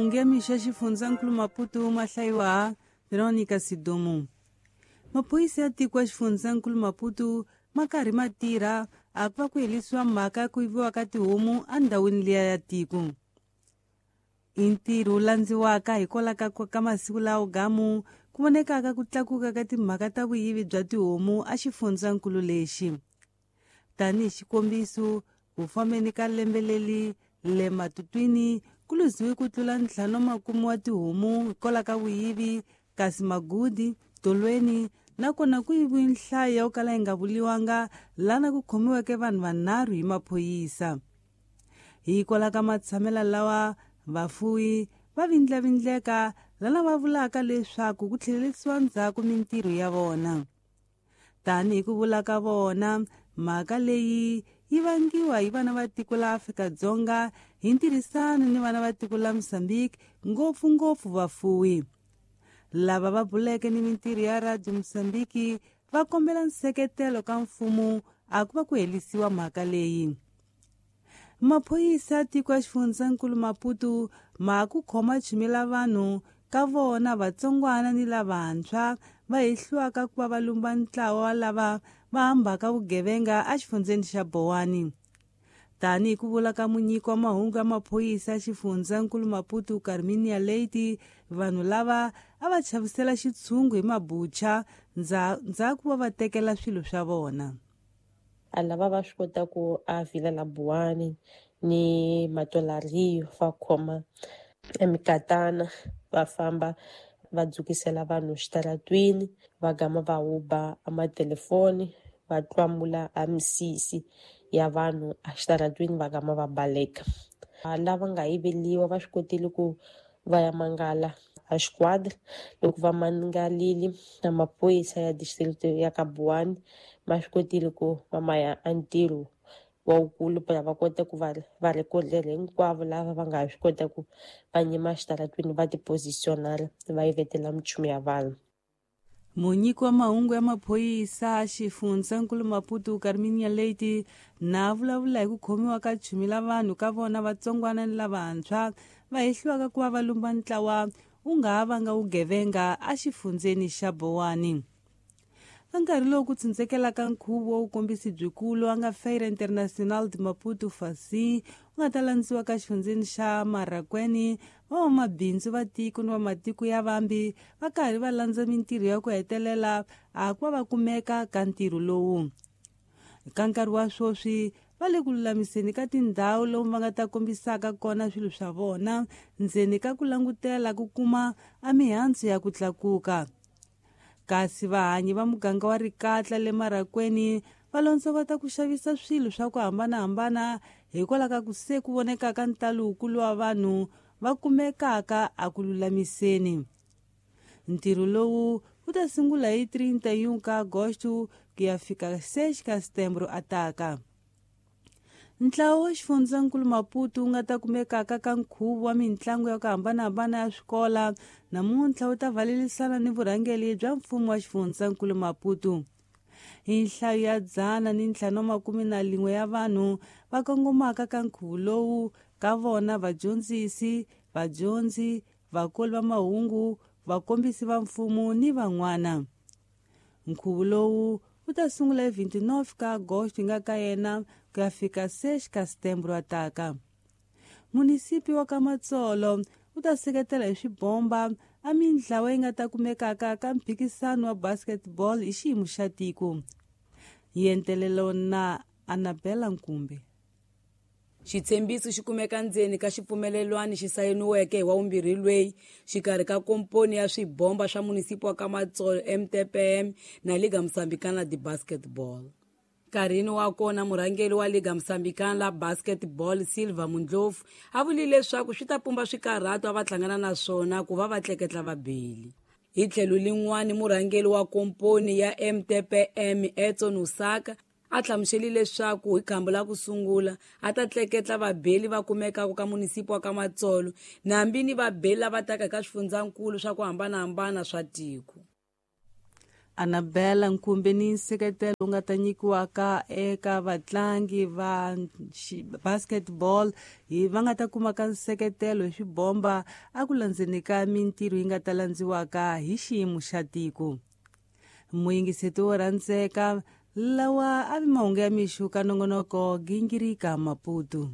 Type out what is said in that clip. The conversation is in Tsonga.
Ngemi xa xifundzankulu Maputo ma hlayiwa Veronica Sidumo. Maphorisa ya tiko ya xifundzankulu Maputo ma karhi ma tirha a ku va ku herisiwa mhaka ya ku yiviwa ka tihomu endhawini liya ya tiko. I ntirho wu landziwaka hikwalaho ka masiku lawo gamu ku vonekaka ku tlakuka ka timhaka ta vuyivi bya tihomu exifundzankulu lexi. Tanihi xikombiso, ku fambeni ka lembe leri le Matutwini ku luziwe ku tlula 50 wa tihomu hikwalaho ka vuyivi, kasi Magudi, Tolweni nakona ku yiviwe nhlayo yo kala yi nga vuriwanga lana ku khomiweke vanhu vanharhu hi maphorisa. Hikwalaho ka matshamelo lawa, vafuwi va vindlavindleka lana va vulaka leswaku ku tlhelerisiwa ndzhaku mintirho ya vona. Tanihi ku vula ka vona, mhaka leyi yi vangiwa hi vana va tiko la Afrika-Dzonga hi ntirhisano ni vana va tiko la Mozambique, ngopfungopfu vafuwi. Lava va buleke ni mintirho ya Radio Mozambique va kombela nseketelo ka mfumo a ku va ku herisiwa mhaka leyi. Maphorisa ya tiko ya xifundzankulu Maputo ma ku khoma chumela vanhu ka vona vatsongwana ni lavantshwa va hehliwaka ku va va lumba ntlawa wa lava va hambaka vugevenga exifundzeni xa Bowani. Tanihi ku vula ka munyiki wa mahungu ya maphorisa ya xifundzankulu Maputo Carminia Leite, vanhu lava a va chavisela xitshungu hi mabucha ndzhaku va va tekela swilo swa vona. A lava va swi kota ku a vila la Buwani ni Matolariyo va khoma emikatana va famba va dzukisela vanhu xitaratwini, va gama va huba a matelefoni, va tlwamula a misisi ya vanhu exitaratwini, va gama va baleka. Lava nga yiveliwa va swi kotile ku va ya mangala a xikwadi. Loko va mangalile na maphorisa ya district ya ka Buwani ma swi kotile ku va ma ya a ntirho wa wukulu para va kota ku va va rhekodela hinkwavo lava va nga swi kota ku va nyima xitaratwini va tipositionala va yivetela minchumu ya vanhu. Munyiki wa mahungu ya maphorisa xifundzankulu Maputo Carminia Leite na vulavula hi ku khomiwa ka chumela vanhu ka vona vatsongwana ni lavantshwa va hehliwaka ku va va lumba ntlawa wu nga ha vanga vugevenga exifundzeni xa Bowani. Ka nkarhi lowu ku tsundzekelaka nkhuvo wa vukombisi byikulu a nga Feira Internacional de Maputo Fasi wu nga ta landziwa ka xifundzeni xa Marracuene, van'wamabindzu va tiko ni va matiko ya vambi va karhi va landza mintirho ya ku hetelela a ku va va kumeka ka ntirho lowu. Ka nkarhi wa sweswi va le ku lulamiseni ka tindhawu lomu va nga ta kombisaka kona swilo swa vona ndzeni ka ku langutela ku kuma a mihandzu ya ku tlakuka. Kasi vahanyi va muganga wa Rikatla le Marracuene va londzovota ku xavisa swilo swa ku hambanahambana hikwalaho ka ku se ku vonekaka ntalo wukulu wa vanhu va kumekaka a ku lulamiseni. Ntirho lowu wu ta sungula hi 31 ka Agosto ku ya fika 6 ka Setembro ataka. Ntlawa wa xifundzankulu Maputo wu nga ta kumekaka ka nkhuvo wa mitlangu ya ku hambanahambana ya swikola namuntlha wu ta valelisana ni vurhangeri bya mfumo wa xifundzankulu Maputo. Hi nhlayo ya 551 ya vanhu va kongomaka ka nkhuvo lowu ka vona vadyondzisi, vadyondzi, vakoli va mahungu, vakombisi va mfumo ni van'wana. Nkhuvo lowu wu ta sungula hi 29 ka Agosto nga ka yena ku ya fika 6 ka Setembro ataka. Munisipi wa ka Matsolo wu ta seketela hi swibomba a mintlawa yi nga ta kumekaka ka mphikisano wa basketball hi xiyimo xa tiko. Yentelelo na Annabella Nkumbe. Xitshembiso xi kumeka ndzeni ka xipfumelelwano xi sayiniweke hi wa vumbirhi lweyi xikarhi ka komponi ya swibomba swa munisipi wa ka Matsolo MTPM na Liga Moçambicana de Basketball. Nkarhini wa kona murhangeri wa Liga Moçambicana la Basketball Silva Mundlofu a vulile leswaku swi ta pumba swikarhato a va hlangana na swona ku va va tleketla vabeli. Hi tlhelo lin'wani murhangeri wa komponi ya MTPM Edson Osaka a hlamusele leswaku hi khamba la ku sungula a ta tleketla vabeli va kumekaka ka munisipi wa ka Matsolo nambi ni vabeli lava taka ka swifundzankulu swa ku hambanahambana swa tiko. Anabela Nkumbe ni nseketelo wu nga ta nyikiwaka eka vatlangi va basketball hi va nga ta kumaka nseketelo hi swibomba a ku landzeni ka mintirho yi nga ta landziwaka hi xiyimo xa tiko. Muyingiseti wo rhandzeka, lawa a vi mahungu ya mixo ka nongonoko Gingirika Maputo.